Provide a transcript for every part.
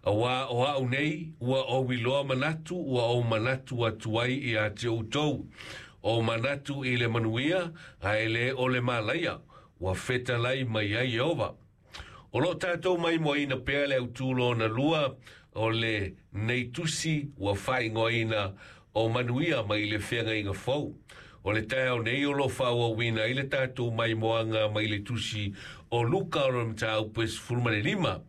Auā o a'u nei ua ou iloa manatu ua ou manatu atu ai iā te outou, o manatu i le manuia ae le o le malaia, ua fetalai mai ai Ieova. O lo o tatou maimoaina pea le autū lona lua o lenei tusi ua faaigoaina o Manuia mai le Feagaiga Fou. O le taeao nei o lo o faaauauina ai le tatou maimoaga mai le tusi o Luka o lona mataupu e 15.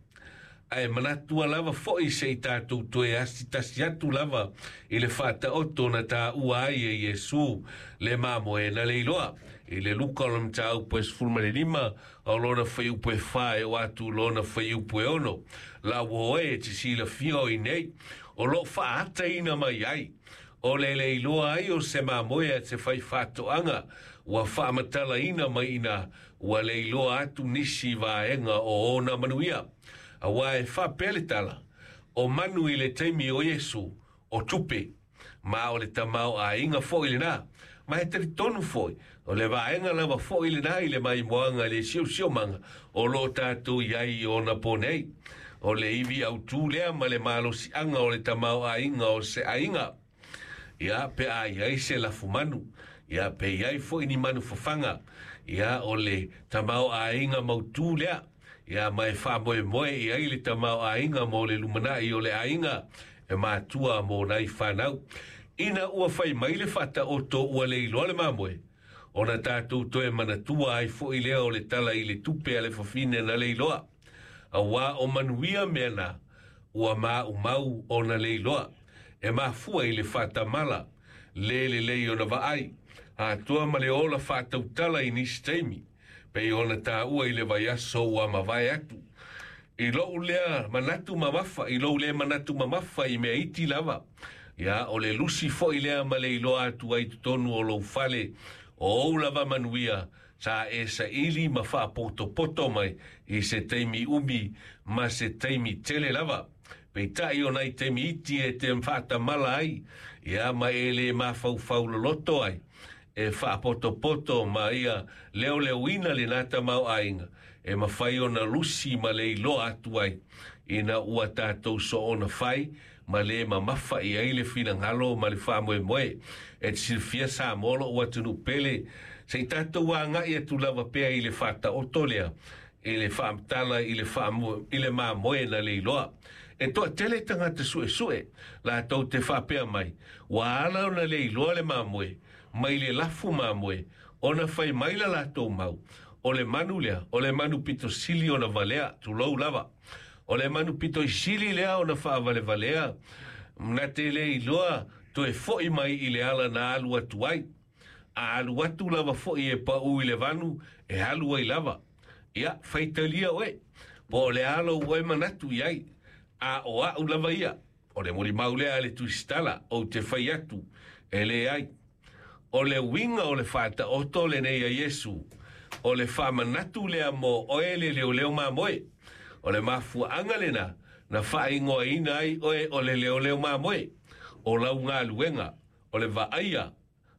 Ae manatua lava foi se i tatou toe asi tasi atu lava i le faataoto na taua ai e Iesu le mamoe na leiloa. I le Luka o lona mataupu e 15, o lona fuaiupu e 4 e oo atu i lona fuaiupu e 6. La ua oe e te silafia o i nei, o lo o faaataina mai ai o le leiloa ai o se mamoe a se faifaatoaga ua faamatalaina mai ina ua leiloa atu nisi vaega o ona manuia. Auā e faapea le tala, o manu i le taimi o Iesu, o tupe, ma o le tamaoaiga foi lenā. Ma e talitonu foi, o le vaega lava foi lenā i le maimoaga i le siosiomaga o lo o tatou i ai i ona po nei. O le ivi autū lea ma le malosiaga o le tamaoaiga o se aiga. Ia, pe a i ai se lafumanu, ia, pe i ai foi ni manu fafaga, ia, o le tamaoaiga mautū lea, ia, ma e faamoemoe i ai le tamaoaiga mo le lumanai o le aiga e matua mo nai fanau. Ina ua fai mai le faataoto ua le iloa le mamoe, ona tatou toe manatua ai foi lea o le tala i le tupe a le fafine na le iloa. Auā o manuia mea na, ua maumau ona le iloa, e mafua i le faatamala, le lelei ona vaai, atoa ma le ola faatautala i nisi taimi, pei ona taua i le vaiaso ua mavae atu. I lou lea manatu mamafa, i lou le manatu mamafa i mea iti lava, ia, o le lusi foi lea ma le iloa atu ai totonu o lou fale, o ou lava manuia, sa e saili ma faapotopoto mai i se taimi umi ma se taimi tele lava. Peitai o nai taimi iti e te faatamala ai, ia, ma e le mafaufau loloto ai, e faapotopoto ma ia leoleoina lenā tamaoaiga, e mafai ona lusi ma le iloa atu ai, ina ua tatou soona fai ma le mamafa i ai le finagalo ma le faamoemoe. E te silafia Samoa lo'u atunuu pele, se i tatou agai atu lava pea i le faataoto lea, i le faamatala i le faamoe, i le mamoe na le iloa. E toatele tagata suesue latou te faapea mai, ua ala ona le iloa le mamoe mai le lafu mamoe, ona fai mai la latou mau, o le manu lea, o le manu pito sili ona valea, tulou lava. O le manu pito i sili lea ona faavalevalea, na te le iloa toe foi mai i le ala na alu atu ai. A alu atu lava foi e paū i le vanu, e alu ai lava. Ia, faitalia oe, po o le a lou oe manatu i ai, a o a'u lava ia, o le molimau lea a le Tusitala, ou te fai atu, e leai. O le uiga o le faataoto lenei a Iesu, o le faamanatu lea mo oe le leoleo mamoe. O le mafuaaga lena na faaigoaina ai oe o le leoleo mamoe. O lau galuega, o le vaaia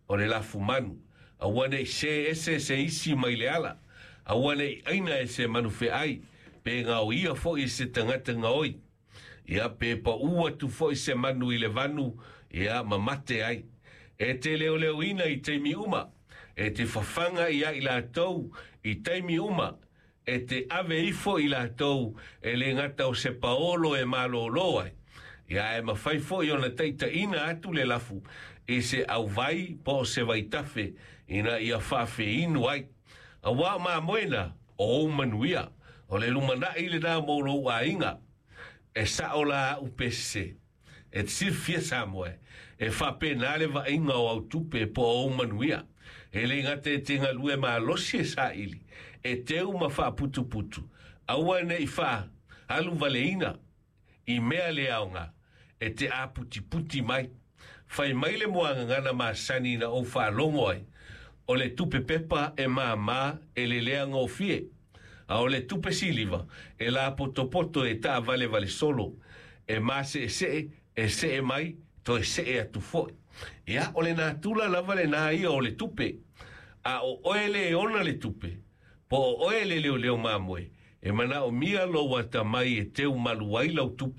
o le lafumanu, aua ne i sē ese se isi mai le ala, aua ne i aina e se manu feai, pe gaoia foi e se tagata gaoi. Ia, pe paū atu foi se manu i le vanu, ia, ma mate ai. E te leoleoina i taimi uma, e te fafaga ia i latou i taimi uma, e te ave ifo i latou e le gata o se paolo e malōlō ai, ia, ae mafai foi ona taitaiina atu le lafu i se auvai po o se vaitafe ina ia faafeinu ai. Auā o mamoe na, o ou manuia, o le lumanai lenā mo lou aiga. E sa'o la a'u pe sese. E te silafia Samoa, e faapena le vaaiga o au tupe po o ou manuia. E le gata e te galue malosi e saili, e teu ma faaputuputu, aua ne i faaalu valeina i mea le aoga, e te aputiputi mai. Fai mai le muagagana masani na ou faalogo ai, o le tupe pepa e māmā e lelea gofie, a o le tupe siliva e lapotopoto e taavalevale solo, e maseesee, e see mai, toe see atu foi. Ia, o le natura lava lenā ia o le tupe. A o oe le e ona le tupe, po o oe le leoleo mamoe, e manaomia lou atamai e teu malu ai lau tupe.